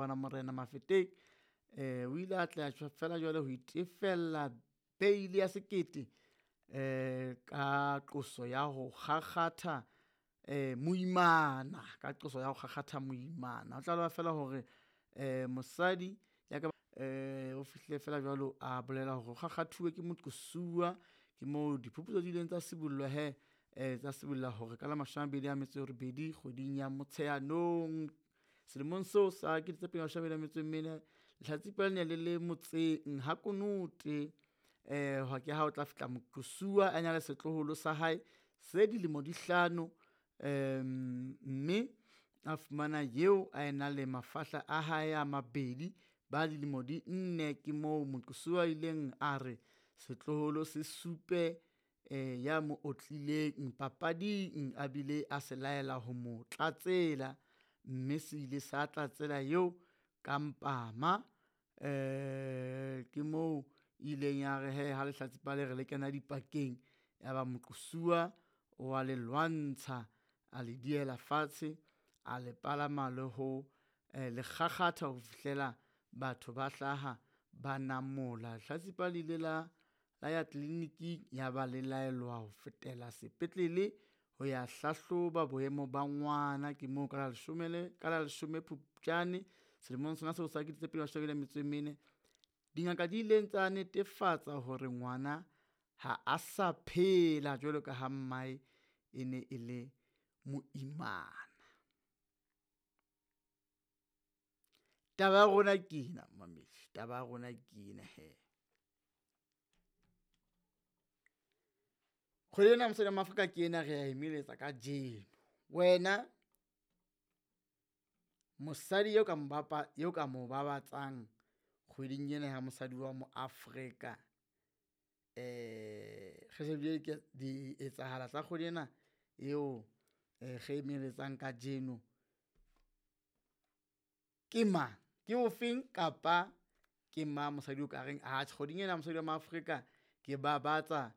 Bana Morena Mafeteng o ile a tla fela jwale ho itefella beili ya 1000 ka qoso ya ho kgakgatha moimana, ka qoso ya ho kgakgatha moimana. Ho tlalewa fela hore mosadi ya ka o fihlile fela jwalo a bolela hore o kgakgathuwe ke moqosuwa. Ke moo diphuputso di ileng tsa sibollwa hee tsa sibolla hore ka la 28 kgweding ya Motsheanong selemong seo sa 2024, lehlatsipa le ne le le motseng ha Konote. Ke ha o tla fihla moqosuwa a na le setloholo sa hae se dilemo di 5, mme a fumana eo a ena le mafahla a hae a mabedi ba dilemo di 4. Ke moo moqosuwa a ileng a re setloholo se supe ya mo otlileng papading, a bile a se laela ho mo tlatsela, mme se ile sa tlatsela eo ka mpama. Ke moo ileng ya re hee ha lehlatsipa le re le kena dipakeng, ya ba moqosuwa wa le lwantsha, a le diela fatshe, a le palama le ho le kgakgatha ho fihlela batho ba hlaha ba namola. Lehlatsipa le ile la ya tleliniking ya ba le laelwa ho fetela sepetlele ho ya hlahloba boemo ba ngwana. Ke moo ka la 10 Phupjane selemong sona seo sa 2024, dingaka di ileng tsa netefatsa hore ngwana ha a sa phela jwalo ka ha mmae e ne e le moimana. Taba ya rona ke ena momamedi, taba ya rona ke ena hee. Kgwedi ena ya mosadi wa Maafrika ke ena re ya emeletsa kajeno. Wena mosadi eo ka mo babatsang kgweding ena ya mosadi wa moAfrika, re shebile di etsahala tsa kgwedi ena eo re emeletsang kajeno ke mang, ke ofeng kapa ke mang mosadi o ka reng atjhe kgweding ena ya mosadi wa Maafrika ke babatsa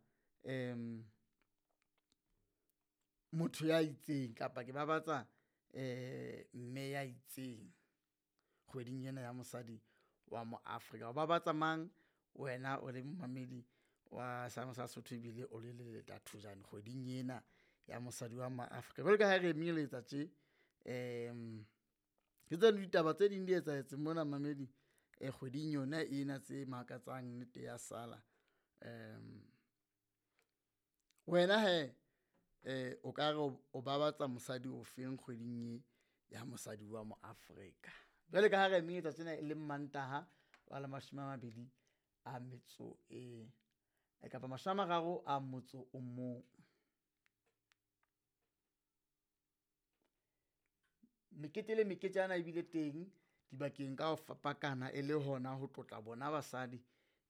motho ya itseng kapa ke babatsa mme ya itseng kgweding ena ya mosadi wa moAfrika. O babatsa mang wena o le momamedi wa seabo sa Sesotho ebile o le Leleta Thojane kgweding ena ya mosadi wa Maafrika? Jwalo ka ha re emeletsa tje, ke tseno ditaba tse ding di etsahetseng mona mamedi kgweding yona ena tse makatsang nnete ya sala. Wena hee o ka re o babatsa mosadi o feng kgweding e ya mosadi wa moAfrika? Jwale ka ha re emeletsa tjena e le Mantaha wa la 31. Mekete le meketjana ebile teng dibakeng ka ho fapakana e le hona ho tlotla bona basadi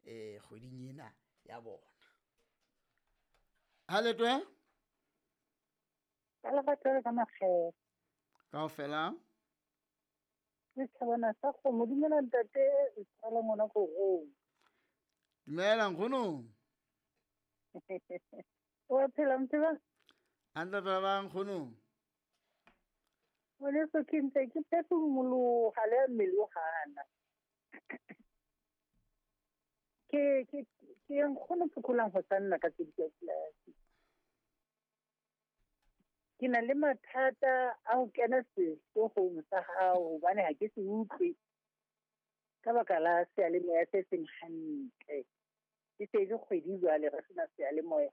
kgweding ena ya bona. Ha letwe Ka lerato le ka makgethe. Kaofela. Le tjhabana sa kgomo, dumela ntate, tswala ngwana korong. Dumela nkgono. Wa phela motho? Hantle fela ba nkgono. Ngwaneso ke ntse ke phefumoloha le mmele o hana. Ke nkgono phokolang ho sanna ka tse di. Ke na le mathata a ho kena sehloohong sa hao hobane ha ke se utlwe ka baka la seyalemoya se seng hantle. Ke se le kgwedi jwale re sena seyalemoya.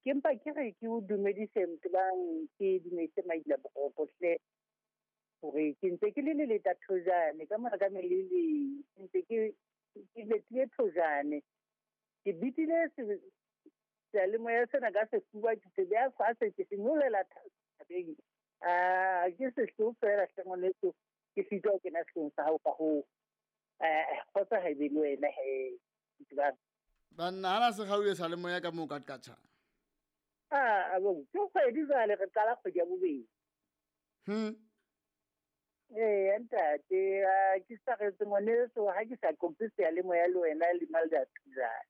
Ke mpa ke re ke o dumedise motebang, ke dumedise Maila Boroko hle, hore ke ntse ke le Leleta Thojane ka mora ka meleleng, ke ntse ke letile Thojane. Ke bitile seyalemoya sena ka sefuba, ke se beha fatshe, ke se nyolela thabeng. Ke sehloho feela hle ngwaneso, ke sitwa ho kena sehloohong sa hao ka hoo. Kgotsa ha ebe le wena hee, motebang. Banna ha la se kgaohile seyalemoya ka moo ka tjha. Ke kgwedi jwale re qala kgwedi ya bobedi. Ee, ntate, ke sa retse ngwaneso ha ke sa qoqe seyalemoya le wena le Malda Thojane.